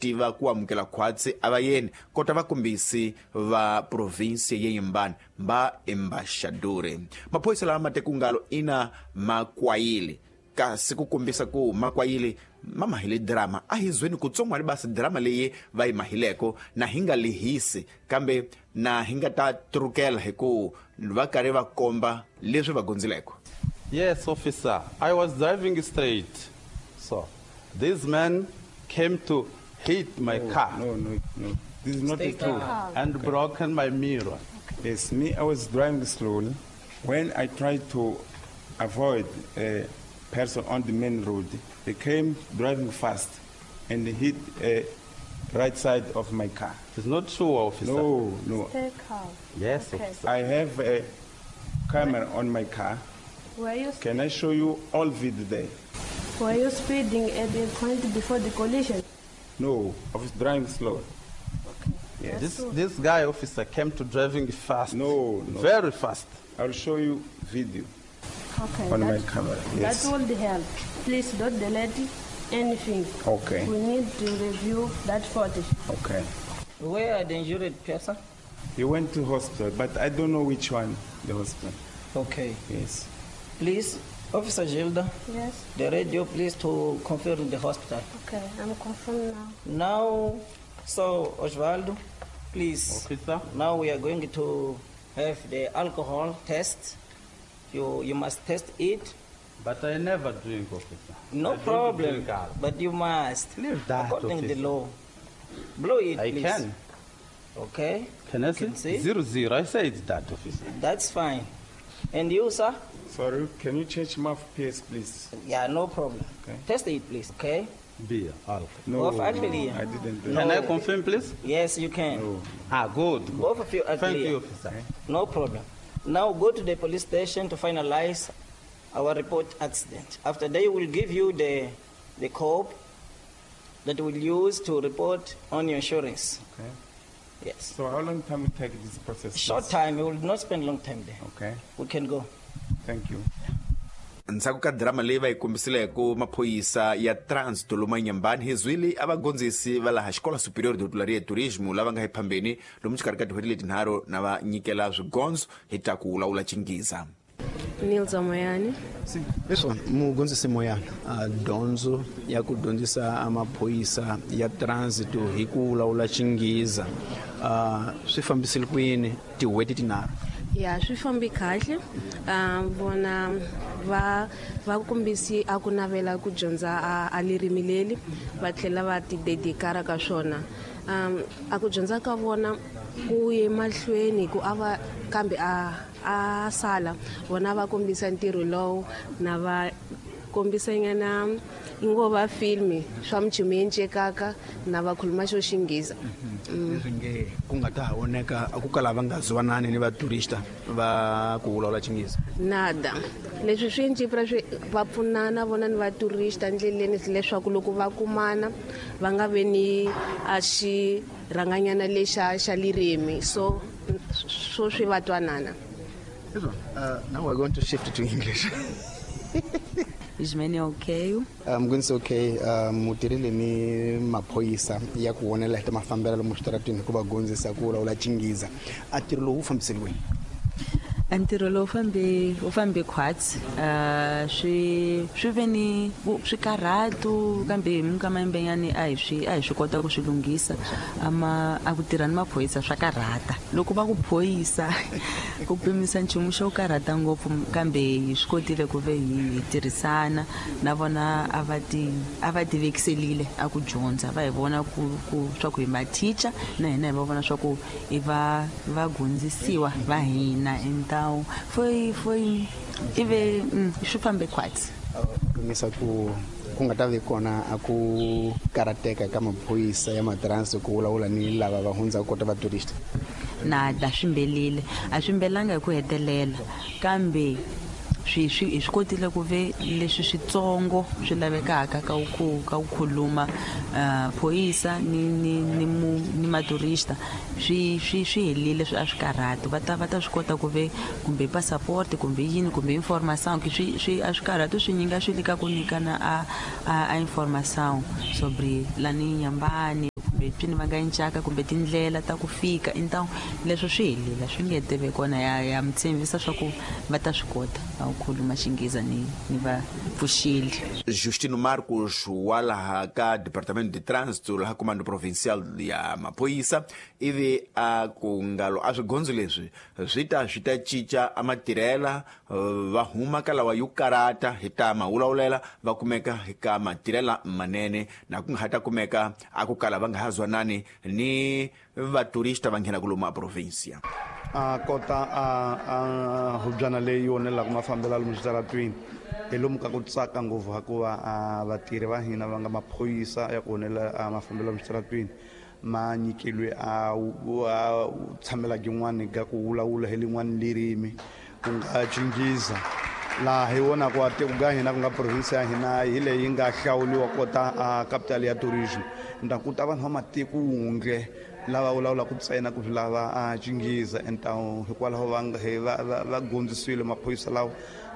Tiva ku amukela khwatsi a va yeni kota vakombisi va provinsi ya Inhambane va embaxadori. Maphorisa lama ma tekungalo ina makwayile kasi ku kombisa ku makwayile ma mahile drama a hi zweni kutsongwani basi drama leyi va yi mahileko na hi nga lehisi kambe na hi nga ta trukela hi ku va karhi va komba leswi va gondzileko. Yes, officer, I was driving straight. So, this man came to hit my car. No, no, no. This is not Stay the truth. calm. And broken my mirror. Yes, me, I was driving slowly. When I tried to avoid a person on the main road, they came driving fast and hit a right side of my car. It's not true, officer. No, no. Stay calm. Yes, Okay. officer. I have a camera on my car. Were you, Can I show you all video there? were you speeding at the point before the collision? No, I was driving slow. Yes. This guy, officer, came to driving fast. No, no. Very fast. I'll show you video Okay. on my that, camera. Yes. That would help. Please don't delete anything. Okay. We need to review that footage. Okay. Where are the injured person? He went to hospital, but I don't know which one, the hospital. Okay. Yes. Please, Officer Gilda, Yes. the radio, please, to confirm the hospital. Okay, I'm confirmed now. Now, so Osvaldo, please. Officer. Now we are going to have the alcohol test. You must test it. But I never drink, officer. No I don't problem. drink alcohol. But you must. Leave that, According to the officer. law. Blow it, I please. can. Okay. Can I see? Can see? 00. I say it's that, officer. That's fine. And you, sir? Sorry, can you change mouthpiece, please? Yeah, no problem. Okay. Test it, please. Okay. Beer, alcohol. No, Both are clear. I didn't do No. Can I confirm, please? Yes, you can. No. Ah, good. Good. Both of you are Thank clear. you, officer. No problem. Now go to the police station to finalize our report accident. After they will give you the code that will use to report on your insurance. Okay. Yes. So how long time will take this process? Short please? time, we will not spend long time there. Okay. We can go. Thank you. Ndzhaku ka drama leyi va yi kombisileko maphorisa ya Trans Toloma Inhambane hi zwile a vagondzisi va laha Xikola Superior de Hotelaria e Turismo lava nga ephambeni lomu xikarhi ka tin'hweti letinharhu na va nyikela swigondzo hi ta ku lawula Chingiza. Nilza Moyani. Leswo mugondzisi Moyana, a dyondzo ya ku dyondzisa maphorisa ya transit hi ku vulavula Xingiza swi fambisile ku yini tin'hweti tinharhu? Ya, swi fambi kahle. Vona va kombisi a ku navela ku dyondza a ririmi leri va tlhela va ti dedikara ka swona. A ku dyondza ka vona ku ye mahlweni ku a va kambe a sala vona va kombisa ntirho lowu na va kombisa nyana ngo va filmi swa mchumu yencekaka na va khuluma xo Xingiza. Leswi nge ku nga ta ha voneka a ku kala va nga zwanani ni vaturista va ku vulavula Xingiza. Nada. Leswi swi encipra swi va pfunana vona ni vaturista ndleleni leswaku loko va kumana va nga ve ni a xi rhanganyana lexa xa lirimi so swi va twanana. Now we're going to shift to English. Ismene okay? Mgunzi okay, mutirhile ni maphorisa ya ku vonela hi ta mafambelo lomu switarateni hi ku va gondzisa ku vulavula Xingiza. A ntirho lowu wu fambiseliweni? A ntirho lowu wu fambe khwatsi. Swi ve ni swikarhatu kambe hi minkama yimbenyani a hi swi kota ku swi lunghisa. A ku tirha ni maphorisa swa karhata. Loko va ku phoyisa ku pimisa nchumu xo karhata ngopfu kambe hi swi kotile ku ve hi tirhisana na vona a va ti vekiselile a ku dyondza va hi vona ku swa ku hi mathicha na hina hi va vona swa ku i va gondzisiwa va hina entawu foi ive swi fambe khwatsi. Pimisa ku nga ta vi kona a ku karateka ka maphorisa ya matransi ku vulavula ni lava va hundzaka kota va tourist. Nada swi mbelile a swi mbelanga hi ku hetelela kambe swi hi swi kotile ku ve leswi switsongo swi lavekaka ka ku khuluma phorisa ni maturista swi helile swi a swi karhati va ta swi kota ku ve kumbe passport kumbe yini kumbe information swi a swi karhati swi nyinga swi le ka ku nyikana a information sobre lani Inhambane. kumbe pini va nga encaka kumbe tindlela ta ku fika então leswo swi helile swi nge teve kona ya mi tshembisa swa ku va ta swi kota a ku khuluma Xingheza ni va pfuxile. Justino Marcos wa laha ka Departamento de Trânsito laha Comando Provincial ya Maphorisa ivi a ku ngalo a swigondzo leswi swi ta cinca a matirhela va huma ka lawa yo karata hi ta mawulawulela va kumeka ka matirhela manene na ku nga ha ta kumeka a ku kala va nga ha zwanani ni vaturista va nghena ku lomu a provincia. A kota a hubyana leyi onelaka mafambelo lomu switaratwini hi lomu ka ku tsaka ngopfu hikuva a vatirhi va hina va nga maphorisa ya ku onela mafambelo lomu switaratwini ma nyikilwe a tshamela gin'wani ka ku vulavula hi lin'wani lirimi ku nga Xingheza laha hi vonaka a tiko ka hina ku nga province ya hina hi leyi nga hlawuliwa kota a capital ya tourism nta ku ta vanhu va matiko wundle lava vulavulaka ntsena ku swi lava a Xingheza entawu hikwalaho va gondzisiwile maphorisa lawa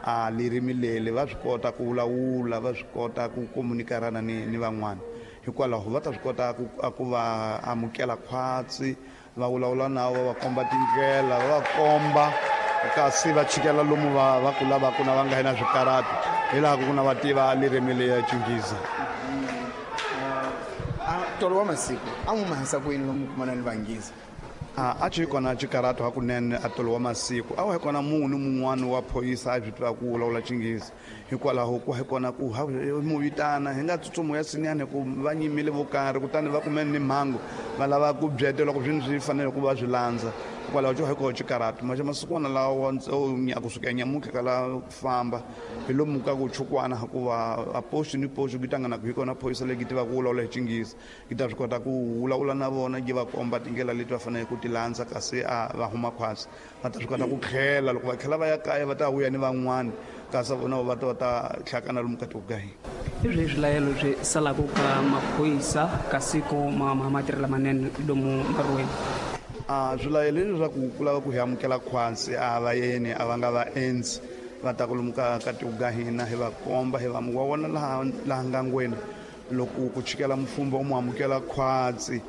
a lirimi leli va swi kota ku vulavula va swi kota ku komunikarana ni van'wana hikwalaho va ta swi kota ku va amukela khwatsi va vulavula na va va komba tindlela va va komba kasi va chikela lomu va ku lavaka na va nga na swikarati hi laha ku na va tiva lirimi leya Xingheza. Tolo wa masiku a n'wi mahisa ku yini lomu kumana ni Vanghiza? A ci kona xikarato hakunene a tolo wa masiku a wa hi kona munhu ni mun'wana wa phorisa a swi tiva ku vulavula Xinghezi hikwalaho ku hi kona ku mu vitana hi nga tsutsumo ya sinyani ku va nyimile vo karhi kutani va kumene ni mhangu va lava ku byetela ku swini swi fanele ku va swi landza hikwalaho xo hi koho xikarato maxe masikwana lawa kusuka nyamuntlha ka la famba hi lomu ka ku chukwana hikuva a post ni post ku tangana ku hi kona phorisa leyi tivaka ku vulavula hi Xinghezi yi ta swi kota ku vulavula na vona yi va komba tindlela leti va faneleke ku ti landza kasi a va huma khwatsi va ta swi kota ku tlhela loko va tlhela va ya kaya va ta vuya ni van'wani kasi vona va ta va ta hlakana lomu ka tiko ka hina. Hi swihi swilayelo swi salaka ka maphorisa ka siku matirhela manene lomu nkarhiweni? A swilayelo leswaku ku lava ku hi amukela khwatsi a va yeni a va nga va endzi va ta ku lomu ka tiko ka hina hi va komba hi va wa vona laha ngangweni loko ku chikela mfumbo u mu amukela khwatsi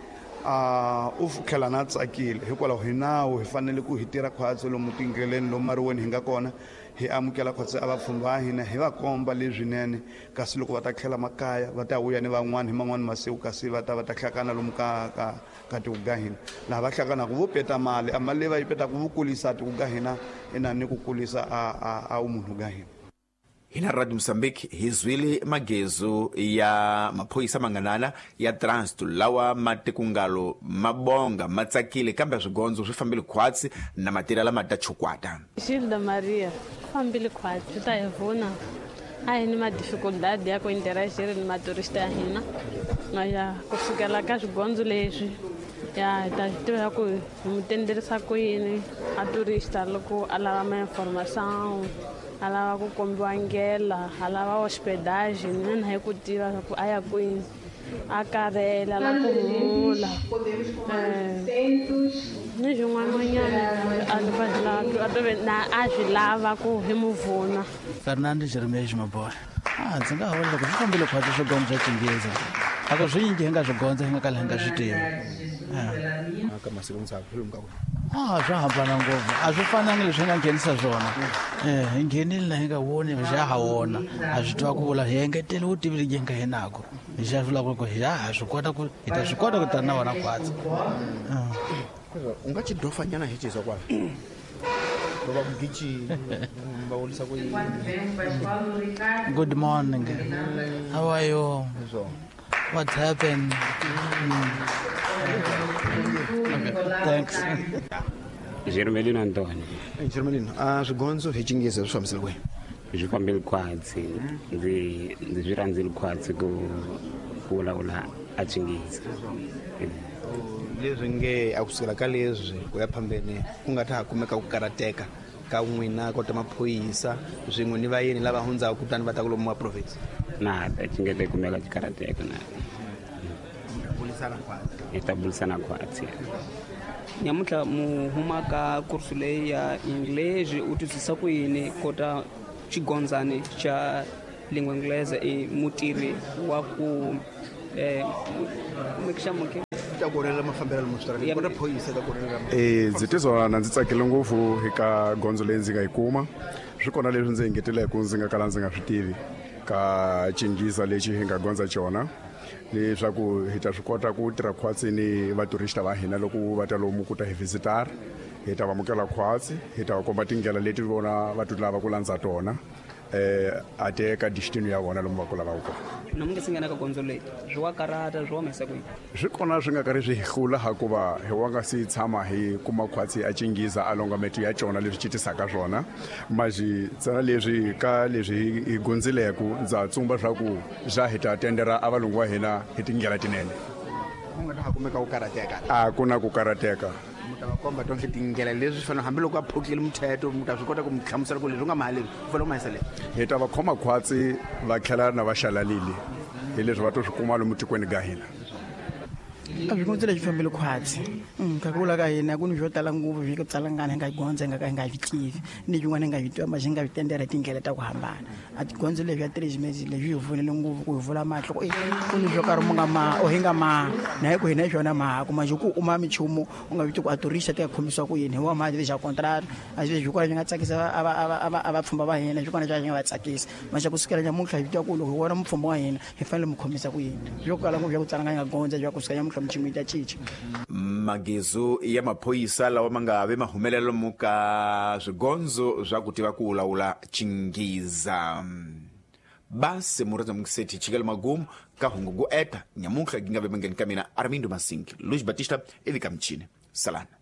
u tlhela na tsakile hikwalaho hi nawu hi fanele ku hi tirha khwatsi lomu tindleleni lomu mariweni hi nga kona hi amukela khwatsi a vapfhumba va hina hi va komba leswinene kasi loko va ta tlhela makaya va ta vuya ni van'wani hi man'wani masiku kasi va ta va ta hlakana lomu ka tiko ka hina laha va hlakanaka vo peta mali a mali leyi va yi petaka vo kulisa tiko ka hina ina ni ku kulisa a vumunhu ka hina. Hina Radio Mozambique hi zwile magezu ya maphorisa manganana ya trânsito lawa matikungalo mabonga matsakile kambe swigondzo swi fambile khwatsi na matirhela ma ta chukwata. Gilda Maria fambile khwatsi swi ta hi vuna a hi ni madificuldade ya ku interagir ni maturista ya hina ya kusukela ka swigondzo leswi ya hi ta tiva ku hi mu tenderisa ku yini a turista loko a lava ma-informação a lava ku kombiwa ndlela a lava hospedagem mina hi ku tiva ku a ya kwini a karhela la ku humula ni swin'wananyana a swi lava ku hi mu vuna. Fernando Jeremias Mabola ndzi nga vula loko swi fambile khwatsi swigondzo swa Xinghezi a ku swi yingi hi nga swi gondza hi nga kala hi nga swi tivi. Ka masiku ndzhaku lomu ka ku swa hambana ngopfu a swi fanangi leswi hi nga nghenisa swona hi nghenile na hi nga voni xa ha wona a swi tiva ku vula hi engetele vutivi lebyi hi nga hi nako hi xa vula ku hi ha swi kota ku hi ta swi kota ku tana na vona khwatsi. U nga xidofanyana hi xizwa kwala va ku gichi va vurisa ku yini? Good morning, how are you? What happened? Okay, thanks. Jermelino Antoni. Jermelino, swigondzo hi Xinghezi swi fambisile kwihi? Swi fambile khwatsi ndzi swi rhandzile khwatsi ku vulavula a Xinghezi. Leswi nge a kusukela ka leswi ku ya phambeni ku nga ta ha kumeka ku karateka ka n'wina kota maphorisa swin'we ni vayeni lava hundzaka kutani va ta ku lomu wa province. Na xingete kumeka xikarateka na hi ta burisana khwatsi. Nyamuntlha mu huma ka kursu leyi ya English u twisisa ku yini kota xigondzani xa lingua inglesa i mutirhi wa ku Ta ku onhelela mafambelo lomu switarateni kota phoyisa ta ku onhelela. Ndzi tizwa na ndzi tsakile ngopfu eka gondzo leyi ndzi nga yi kuma. Swi kona leswi ndzi engeteleke ndzi nga kala ndzi nga swi tivi ka Xinghezi lexi hi nga gondza xona, leswaku hi ta swi kota ku tirha khwatsi ni vaturista va hina loko va ta lomu ku ta hi visitor. Hi ta va amukela khwatsi, hi ta va komba tindlela leti vona va ti lava ku landza tona a te ka destiny ya vona lomu va ku lavaka kona. Na mi nge se nghena ka gondzo leyi, swi wa karata, swi wa humesa kwihi? Swi kona swi nga karhi swi hi hlula, hakuva hi wa nga si tshama hi kuma khwatsi a Xinghezi a longa meto ya cona leswi citisaka swona. Maji ntsena leswi ka leswi hi gondzileku, ndza tsumba swa ku za hi ta tendera a valungu va hina hi tindlela tinene. Ku nga ta ha kumeka ku karhateka? A ku na ku karhateka. Mu ta va komba tonke tindlela leswi fanele, hambiloko a phukile muthetho, mu ta swi kota ku mu hlamusela ku leswi u nga maha leswi, u fanele u mahisa leswi. Hi ta va khoma khwatsi, va tlhela na va xalalile hi leswi va to swi kuma lomu tikweni ga hina. A swi gondzo lexi fambile khwatsi. Ka ku vula ka hina, ku ni swo tala ngopfu swi ku tsalangana hi nga gondzo hi nga ka hi nga swi tivi, ni swin'wana hi nga swi tiva ma xi nga swi tendela hi tindlela ta ku hambana. A tigondzo leswi ya three leswi hi pfunile ngopfu ku hi vula mahlo ku ku ni swo karhi mu nga maha o hi nga maha na hi ku hina hi swona maha ku manjhe ku uma minchumu u nga viti ku a turista ti nga khomisiwa ku yini hi wa mali xa contract. A swi leswi kona swi nga tsakisa a vapfhumba va hina, swi kona swi nga va tsakisa manjhe kusukela nyamuntlha hi twa ku loko hi vona mupfhumba wa hina hi fanele mu khomisa ku yini. Swo kala ngopfu swa ku tsala nga gondza swa kusuka nyamuntlha minchumu yi ta cinca. Magezu ya maphorisa lawa ma nga ve mahumelelo lomu ka swigondzo swa ku tiva ku lawula Xinghezi. Basi murhandza mukiseti chikele magumu ka hungu ku eta nyamuntlha gi nga ve mangeni ka mina Armindo Masinki Luis Batista ivi ka michini salana.